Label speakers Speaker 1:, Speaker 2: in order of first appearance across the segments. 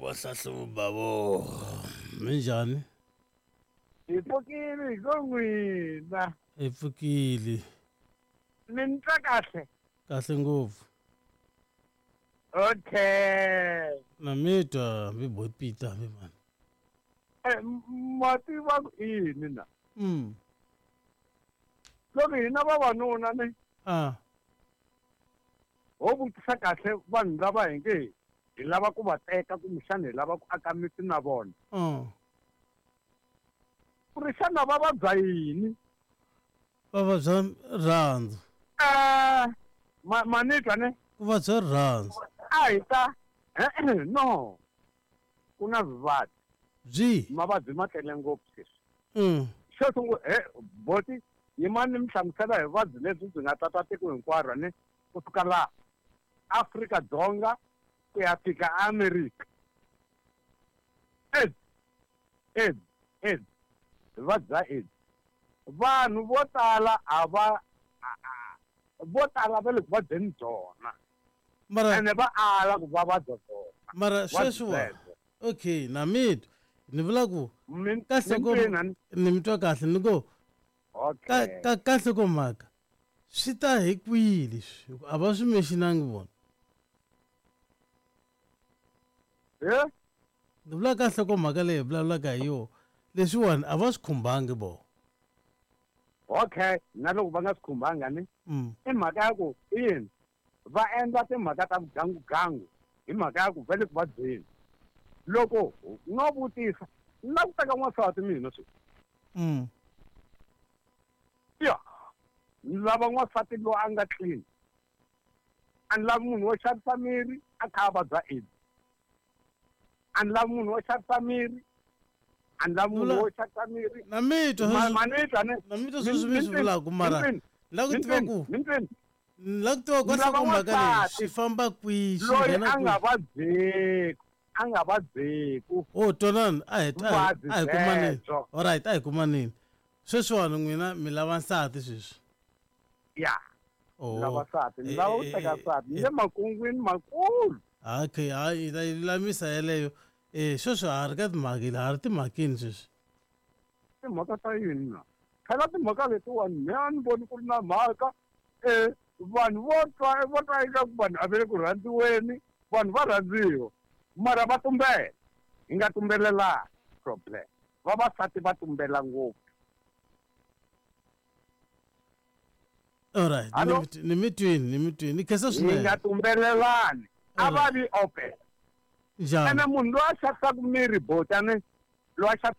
Speaker 1: Vahlahluva vo minjhani?
Speaker 2: Hi pfukile hi ko n'wina.
Speaker 1: Hi pfukile.
Speaker 2: Mi ni twa kahle?
Speaker 1: Kahle ngopfu.
Speaker 2: Okay.
Speaker 1: Na mi twa mi boy Peter mi mani.
Speaker 2: Eh, ma tiva ku i yini na? Loko hina vavanuna ni
Speaker 1: Ah.
Speaker 2: Ho vutisa kahle vanhu lava hi nge hi lava ku va teka kumbexana hi lava ku aka miti na vona. Ku ri xana va vabya yini?
Speaker 1: Va vabya rirhandzu.
Speaker 2: Eh, ma ma ni twa ne?
Speaker 1: Ku vabya rirhandzu.
Speaker 2: A hi ta e-e no. Ku na vuvabyi.
Speaker 1: Byi.
Speaker 2: Mavabyi ma tele ngopfu sweswi. Xo sungula he boti yimani ni mi hlamusela hi vuvabyi lebyi byi nga tata tiko hinkwaro ne kusuka laha Afrika Dzonga ku ya fika America. AIDS, AIDS, AIDS, vuvabyi bya AIDS. Vanhu vo tala a va vo tala va le ku vabyeni byona.
Speaker 1: Mara
Speaker 2: Ene va ala ku va vabya byona.
Speaker 1: Mara
Speaker 2: Vuvabyi
Speaker 1: sweswiwa
Speaker 2: byebyo.
Speaker 1: okay na mi twa ni vula ku
Speaker 2: Mi
Speaker 1: kahle
Speaker 2: mi
Speaker 1: ko
Speaker 2: twini a ni?
Speaker 1: ni mi twa kahle ni ku ka
Speaker 2: Okay.
Speaker 1: ka kahle ko mhaka swi ta hi kwihi leswi hi ku a va swi mentionangi vona.
Speaker 2: Eh?
Speaker 1: Ni vula kahle ko mhaka leyi hi vulavulaka hi yona leswiwani a va swi khumbangi vona.
Speaker 2: Okay, na loko va nga swi khumbanga ni i mhaka ya ku i yini va endla timhaka ta vugangugangu hi mhaka ya ku va le ku vabyeni. Loko no vutisa ni lava ku teka n'wansati mina sweswi. Ya, ni lava n'wansati loyi a nga clean. A ni lavi munhu wo xavisa miri a kha a vabya AIDS. A ni lavi munhu wo xavisa miri, a ni lavi munhu wo xavisa miri.
Speaker 1: Na mi twa
Speaker 2: Ma
Speaker 1: sweswi
Speaker 2: ma ni twa ne?
Speaker 1: na mi twa
Speaker 2: Mi
Speaker 1: sweswi mi
Speaker 2: mi
Speaker 1: swi
Speaker 2: twini
Speaker 1: vulaka
Speaker 2: mi
Speaker 1: mara
Speaker 2: twini
Speaker 1: ni lava ku
Speaker 2: mi
Speaker 1: tiva
Speaker 2: twini
Speaker 1: ku
Speaker 2: mi twini
Speaker 1: ni lava ku tiva
Speaker 2: ni
Speaker 1: kahle
Speaker 2: lava
Speaker 1: ko mhaka leyi
Speaker 2: n'wansati
Speaker 1: swi famba kwihi swi
Speaker 2: loyi
Speaker 1: nghena
Speaker 2: a nga
Speaker 1: kwihi.
Speaker 2: vabyeku a nga vabyeku
Speaker 1: Oh twanani a hi a hi
Speaker 2: vuvabyi
Speaker 1: a hi kumaneni.
Speaker 2: byebyo.
Speaker 1: Alright a hi kumaneni. Sweswiwani n'wina mi lava nsati sweswi.
Speaker 2: Ya. Ni lava
Speaker 1: Oh.
Speaker 2: nsati ni lava ku teka nsati ni le makungwini makulu.
Speaker 1: Okay hayi hi ta yi lulamisa yeleyo. Eh sweswi ha ri ka timhaka ha ri timhakeni sweswi.
Speaker 2: Timhaka ta yini na? Phela timhaka letiwani me a ni voni ku ri na mhaka eh vanhu vo twa vo twa ingaku vanhu a va le ku rhandziweni vanhu va rhandziwa mara va tumbela hi nga tumbelelani problem vavasati va tumbela ngopfu.
Speaker 1: Alright
Speaker 2: Hallo?
Speaker 1: ni mi twini ni mi twini ni khensa
Speaker 2: Hi
Speaker 1: swinene.
Speaker 2: nga tumbelelani a va vi open.
Speaker 1: Njhani?
Speaker 2: Ene munhu loyi a xavisaka miri botani loyi a xavisaka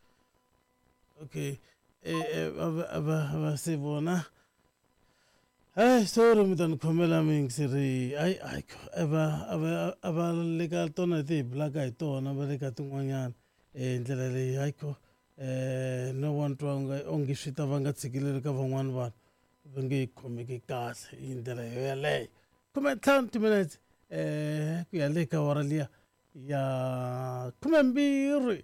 Speaker 1: Okay eh eh va va va se vona. Hey sorry mi ta ni khomela miyingiseri ayi ayi a va a va a va le ka tona leti hi bulaka hi tona va le ka tin'wanyana hi ndlela leyi hayikho no wa ni twa onge swi ta vanga ntshikelelo ka van'wani vanhu va nge yi khomeki kahle hi ndlela yo yeleyo. 15 timinetse ku ya le ka awara liya ya 12.